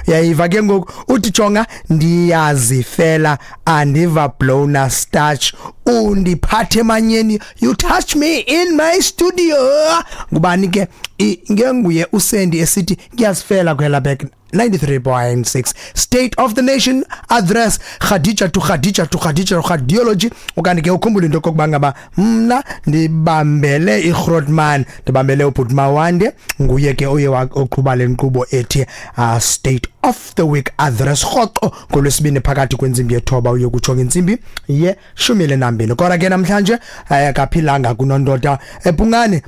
Uyayiva ke ngoku, uthi jonga, ndiyazifela, andiva blowna starch, undiphathe emanyeni, you touch me in my studio. Ngubani ke? Ngenguye uSendi esithi ngiyazifela kwela back 93.6. State of the Nation Address, Khadija to Khadija to Khadija Khadiology. Okanye ke ukhumbule into kokuba ngaba mna ndibambele iGrootman, ndibambele ubhuti Mawande, nguye ke oye oqhuba le nkqubo ethi State of the Week Address rhoqo ngolwesibini phakathi kwentsimbi yethoba uye kutsho ngentsimbi ye-12. Kodwa ke namhlanje akaphilanga kunondoda ePungane.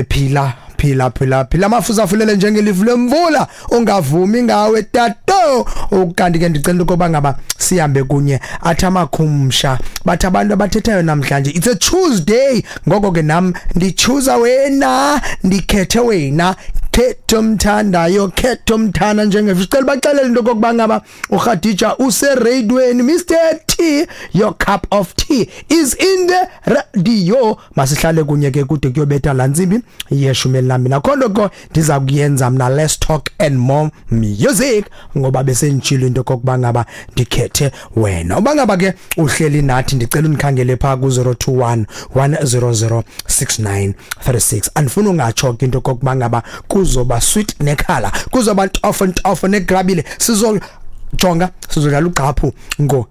Phila, phila, phila, phila, mafuza afulele njengelifu lemvula, ungavumi ngawe tato. Ukanti ke ndicela ukuba ngaba sihambe kunye, athi amakhumsha bathi abantu abathethayo namhlanje, it's a Tuesday, ngoko ke nam ndichoose wena, ndikhethe wena, khetha omthandayo, khetha omthanda njengefisicela baxelele into kokuba ngaba uKhadija useradweni. Mr T, your cup of tea is in the radio. Masihlale kunye ke kude kuyobetha laa ntsimbi ye-12. Akho nto ko ndiza kuyenza mna, let's talk and more music, ngoba besenditshilo into kokuba ngaba ndikhethe wena. Uba ngaba ke uhleli nathi, ndicela undikhangele phaa ku-021 100 6936. Andifuni ungatsho ke into kokuba ngaba kuzoba sweet nekhala, kuzoba ntofo ntofo negrabile. Sizojonga, sizodlala ugqaphu ngo.